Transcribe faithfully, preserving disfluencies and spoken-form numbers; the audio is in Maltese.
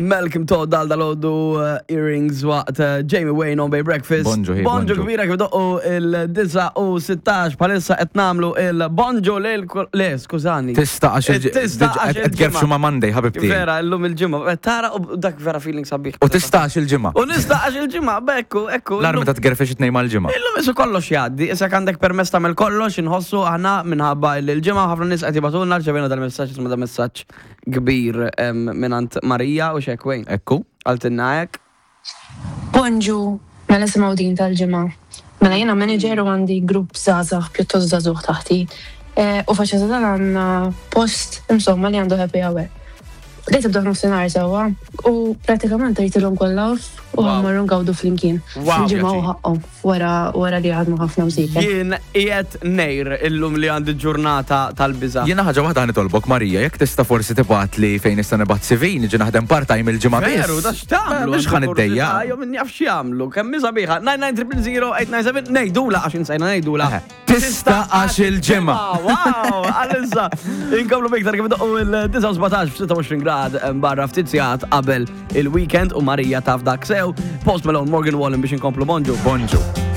Malcolm Todd dal dal-għodu uh, earrings waqt uh, Jamie Wayne on Bay Breakfast. Bonġu, hey, Bonġu bonġu. kbira kif doqqu il-disa u sittax palissa qed nagħmlu il-bonġu lil le, skużani. Tista' għax il- Tista' għax qed tgerfxu ma' Monday, ħabibti. Vera, illum il-ġimgħa. Eh, Tara u dak vera feeling sabiħ. U tista' għax il-ġimgħa. U nista' għax il-ġimgħa, bekku, ekku. L-armi ta' tgerfex it-tnejn mal-ġimgħa. Illum isu kollox jgħaddi, issa għandek permess tagħmel kollox, inħossu aħna minħabba li l-ġimgħa ħafna nies qed jibagħtulna rċevejna dal-messaġġ isma' da messaġġ kbir em, mingħand Marija u xek Wayne. Ekku. Qaltilna hekk. Bonġu, mela simgħu din tal-ġimgħa. Mela jiena manager u għandi grupp żgħażagħ pjuttost żagħżugħ taħti. Eh, U faċċata dan għandna post insomma li għandu happy hour. Li tibda f'nofsinhar sewwa u pratikament tgħidilhom kollha off u Wow. ħa mmorru ngawdu flimkien. Wow, Il-ġimgħa u pjaċir. ħaqhom wara wara li għadmu ħafna msiken. Jien qiegħed nejr illum li għandi ġurnata tal-biża. Jiena ħaġa waħda nitolbok Marija, jekk tista' forsi tibgħat li fejn nista' nibgħat C V niġi naħdem part-time il-ġimgħa biss. Veru, da x'tagħmlu? Mhux ħa niddejja. Jo min jaf x'jagħmlu. Kemm hi sabiħa. nine nine zero zero eight nine seven ngħidula għax insejna ngħidula. Eħe. Tista' għax il-ġimgħa. Wow, għalissa. Inkomplu biktar kif doqqu il-disa u sbatax f'sitta u għoxrin grad barra ftit sigħat qabel il-weekend u Marija taf dak sew. Post Malone, Morgan Wallen biex inkomplu bonġu. Bonġu.